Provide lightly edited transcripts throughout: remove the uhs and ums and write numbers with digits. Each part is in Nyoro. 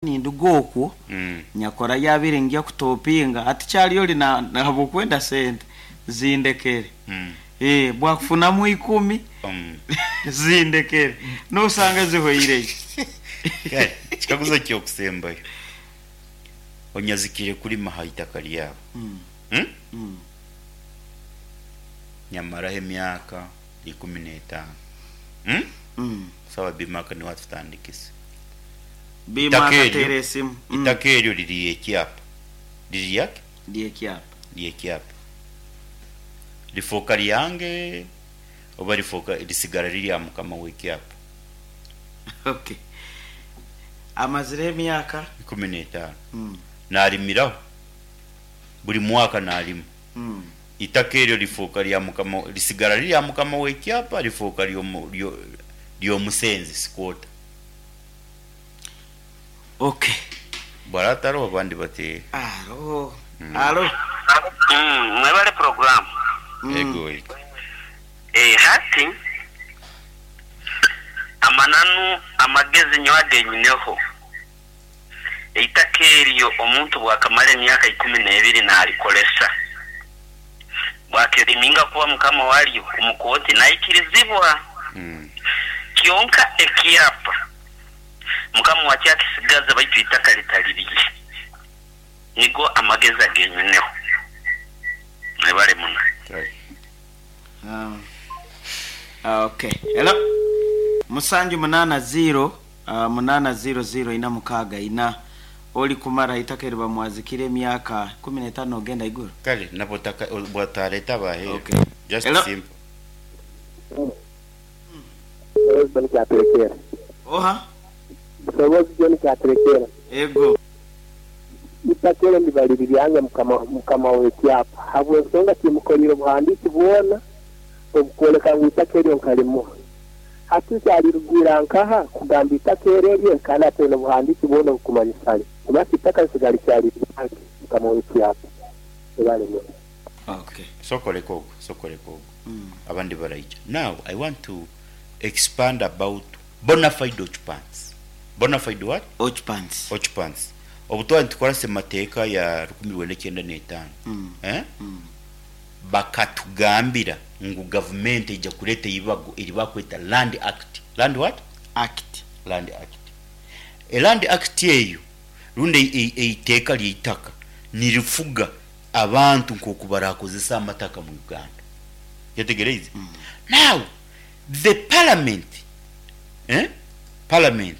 Ninduga okwo nyakora yabaire ngya kutopinga hati kyali oli habwokwenda sente zindekere. Bwakufunamu ikumi zindekere nosanga zihoireyo. Kale ekikaguzo ky'okusembayo, onyazikire kulima ha itaka lyawe, nyamaraho emyaka ikumi n'etaano, Sawa Bimaka niwe atutandikisa. Bima Itaka eryo, akateera esimu. Itaka eryo liri ly'ekyapa. Liri lyaki? Ly'ekyapa. Ly'ekyapa. Lifooka lyange oba lifooka lisigara riri aha mukama w'ekyapa? Okay. Amazire emyaka? 15. Naarimiraho, buri mwaka naarima. Itaka eryo lifooka lya mukama, lisigara riri aha mukama w'ekyapa, lifooka ly'omusenze, squatter. Ok. Bwara ataroho abandi bati. Alo. Alo. Mwebale program. Ego ego. Hati amananu amagezi nyowe agenyineho, eitaka eryo omuntu bwakamara emyaka 12 nalikoresa, bwakeriminga kuba mukama waryo omu kooti naikirizibwa. Kyonka ekyapa mukama wakyo akisigaza baitu eitaka litali rye. Nigo amagezi agenyineho. Mwebale muno. Okay. Hello. Musanju munaana ziiro munaana ziiro ziiro ina mukaaga ina. Oli kumara eitaka eri bamwazikire emyaka 15 ogenda iguru. Kale nabwo bwatareta abaheeru. Okay. Just Hello. simple. Busobozi John Kyaturekera. Oha? Busobozi John Kyaturekera. Ego. Itaka eryo ndiba riri ryange mukama mukama w'ekyapa habw'ensonga timukoliire obuhandiiki bwona obukwoleka ngu itaka eryo nkalimuha. Hati nkyalirugwira nkaha kugamba itaka eryo rye kandi ataine obuhandiiki bwona obukumanyisa lye? Basi itaka lisigara likyali ryange mukama w'ekyapa. Webale muno. Okay. Sooka oleke ogwo, sooka oleke ogwo. Abandi baraija. Now I want to expand about bonafide occupants. Bonafide what? Occupants. Occupants. Obu twaba nitukora Ssemateeka ya 1995, eh, bakatugambira ngu gavumenti eija kureeta eibago eri bakweta Land Act. Land what? Act. Land Act. E Land Act eyo rundi eiteeka ly'eitaka nirifuga abantu nk'oku barakozesa amataka mu Uganda. Kyetegereize? Now, the parliament, eh, parliament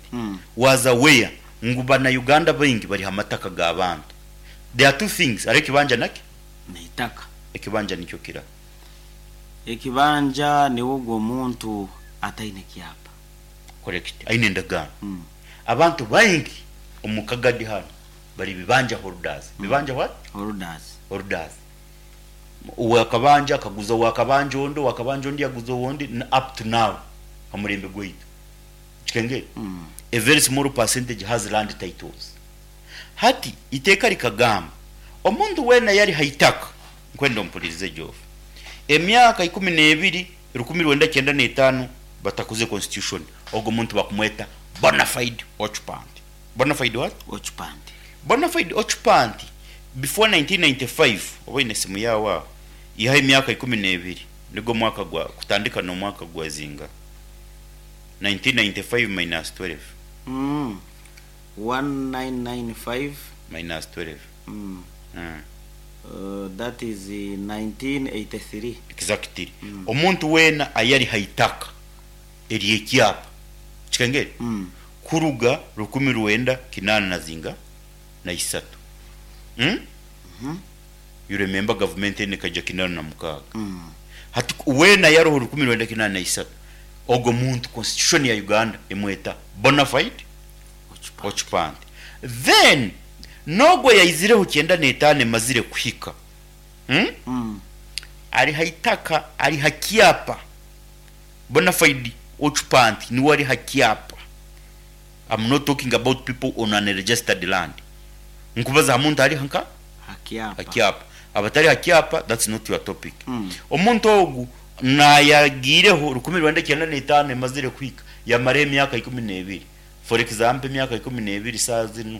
was aware ngu bana Uganda baingi bari ha mataka g'abantu. There are two things, hariho ekibanja naki? N'eitaka. Ekibanja nikyo kira. Ekibanja niwe ogwo omuntu ataine kyapa. Correct. Aine endagaano. Abantu baingi omu Kagadi hanu bari bibanja holders. Bibanja what? Holders. Holders. Owakabanja akaguza owakabanja ondi, owakabanja ondi yaguza owondi, up to now ha mulembe gwaitu. Kikengeri? A very small percentage has land titles. Hati iteeka rikagamba omuntu weena yari ha itaka, nkwenda ompulirize Geoff, emyaka 12 1995 batakuze constitution, ogwo muntu bakumweta bonafide occupant. Bonafide what? Occupant. Bonafide occupant before 1995, oba oine esimu yaawe aho, ihaho emyaka 12, nigwo mwaka gwa kutandika n'omwaka gwa zinga 1995 minus 12. 1995 Minus 12. That is 1983. Exactly. Omuntu weena ayari ha itaka ery'ekyapa, kikengeri? Kuruga 1983 na zinga na isatu. You remember gavumenti enu ekaija 86. Hati weena yaroho 1983, ogwo muntu constitution ya Uganda emweta bonafide occupant. Then n'ogwo yaizireho 95 emazire kuhika, Ari ha itaka, ari ha kyapa. Bonafide occupant niwe ari ha kyapa. I'm not talking about people on unregistered land. Nkubaza ha muntu ari nka? Ha kyapa. Ha kyapa. Abatari ha kyapa, that's not your topic. Omuntu ogu nayagiireho 1995 emazire kuhika, yamara emyaka 12. For example, emyaka 12 saa zinu.